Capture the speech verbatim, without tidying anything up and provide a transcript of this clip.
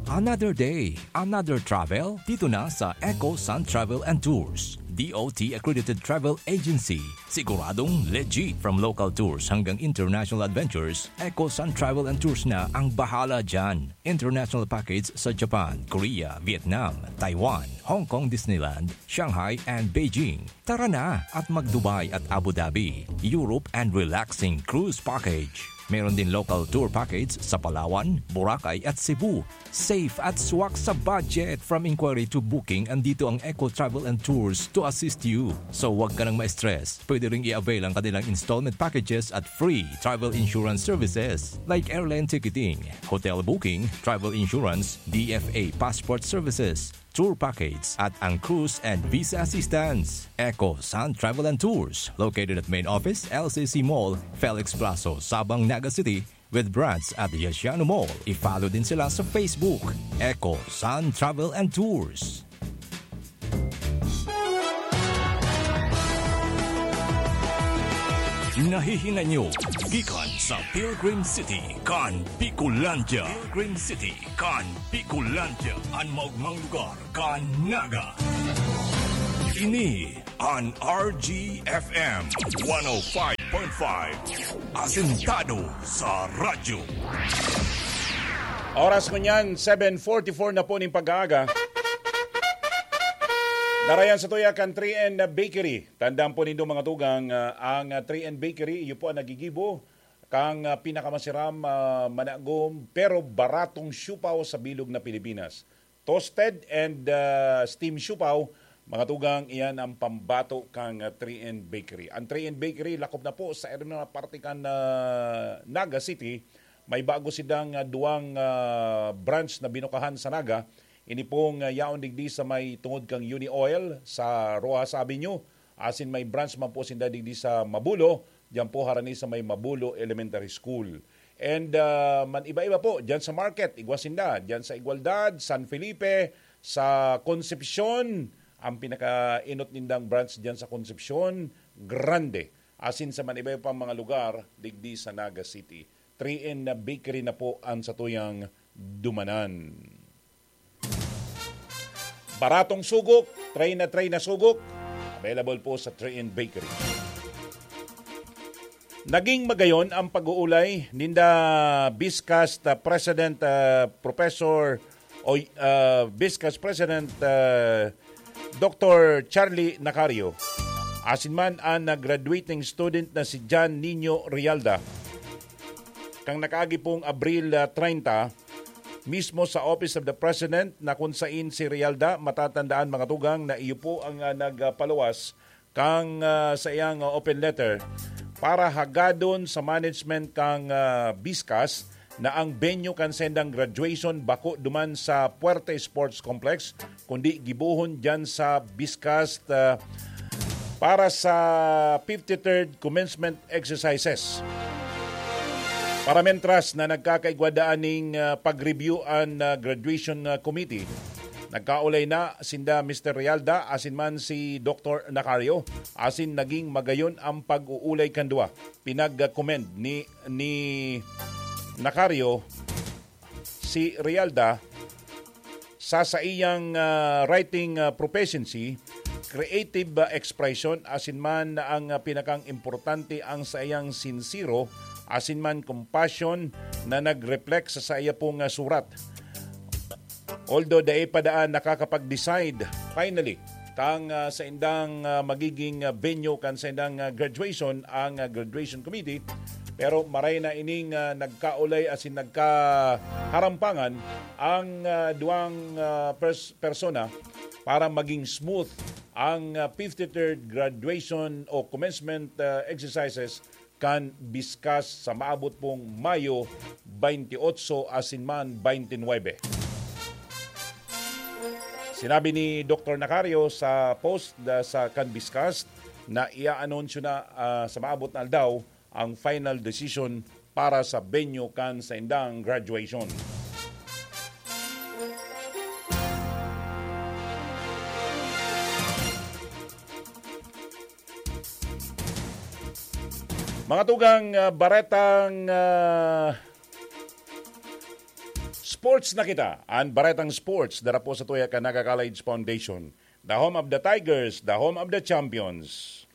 Another day, another travel, dito na sa Eco Sun Travel and Tours, D O T accredited travel agency. Siguradong legit, from local tours hanggang international adventures, Eco Sun Travel and Tours na ang bahala dyan. International package sa Japan, Korea, Vietnam, Taiwan, Hong Kong Disneyland, Shanghai and Beijing. Tara na at mag-Dubai at Abu Dhabi, Europe and relaxing cruise package. Meron din local tour package sa Palawan, Boracay at Cebu. Safe at swak sa budget. From inquiry to booking, andito ang Eco Travel and Tours to assist you. So, wag ka nang ma-stress. Pwede ring i-avail ang kanilang installment packages at free travel insurance services like airline ticketing, hotel booking, travel insurance, D F A passport services, tour package, at ang cruise and visa assistance. Eco Sun Travel and Tours, located at main office, L C C Mall, Felix Plazo, Sabang, Naga City, with branch at Yasiano Mall. I-follow din sila sa Facebook, Eco Sun Travel and Tours. Nahihinay nyo gikan sa Pilgrim City kan Bicolandia. Pilgrim City kan Bicolandia, an maogmang lugar kan Naga. Ini an R G F M one oh five point five, asentado sa radyo. Oras ngunyan, seven forty-four na po ning pag-aaga. Narayan sa tuya kan three N Bakery. Tandaan po nindo, mga tugang, ah, ang, ah, three N Bakery, iyo po ang nagigibo kang, ah, pinakamasiram, ah, managom, pero baratong siupaw sa bilog na Pilipinas. Toasted and, ah, steam siupaw, mga tugang, iyan ang pambato kang, ah, three N Bakery. Ang three N Bakery, lakop na po sa area na parte kan, ah, Naga City. May bago sidang, ah, duwang, ah, branch na binukahan sa Naga. Ini pong, ah, yaon digdi sa may tungod kang Uni Oil sa Roxas Avenue. Asin may branch man po sinda digdi sa Mabulo, diyan po harani sa may Mabulo Elementary School. And, ah, man iba-iba po, diyan sa market, igwa sinda, diyan sa Igualdad, San Felipe, sa Concepcion, ang pinakainot nindang branch diyan sa Concepcion, Grande. Asin sa man iba pang mga lugar, digdi sa Naga City. Three N Bakery na po ang satuyang dumanan. Baratong sugok, tray na tray na sugok, available po sa three N Bakery. Naging magayon ang pag-uulay ninda Biscast, ah, President, ah, Professor o, ah, Biscast President, ah, Doktor Charlie Nacario, asin man ang, ah, graduating student na si John Nino Rialda. Kang nakaagi pong Abril, ah, treinta, mismo sa Office of the President na kun sain si Rialda, matatandaan, mga tugang, na iyo po ang, ah, nagpaluwas kang, ah, sa iyang, ah, open letter para hagadon sa management kang, ah, Biscast na ang venue kan sendang graduation bako duman sa Puerte Sports Complex, kundi gibohon diyan sa Biscast, ah, para sa fifty-third commencement exercises. Para mentras na nagkakaigwa daan ning, ah, pag-review an, ah, graduation, ah, committee, nagkaulay na sinda Mister Realda asin man si Doktor Nacario, asin naging magayon ang pag-uulay kan duwa. Pinag-commend ni, ni Nacario si Realda sa saiyang, ah, writing, ah, proficiency, creative, ah, expression, asin man ang, ah, pinakang importante, ang saiyang sinsero asin man compassion na nag-reflect sa saiya pong, ah, surat. Although dai pa daan nakakapag-decide finally kang, ah, saindang, ah, magiging, ah, venue kan saindang, ah, graduation ang, ah, graduation committee, pero maray na ining, ah, nagkaulay asin nagkaharampangan ang, ah, duwang, ah, pers-, persona para maging smooth ang, ah, fifty-third graduation o commencement, ah, exercises kan Biscast sa maabot pong Mayo twenty-eight asin man twenty-nine. Sinabi ni Doktor Nacario sa post da-, sa kan Biscast na iaanunsyo na, ah, sa maabot na aldaw ang final decision para sa venue kan saindang graduation. Mga tugang, ah, baretang, ah, Sports na kita. An Baretang Sports, dara po sa tuya kan Naga College Foundation. The home of the Tigers, the home of the champions.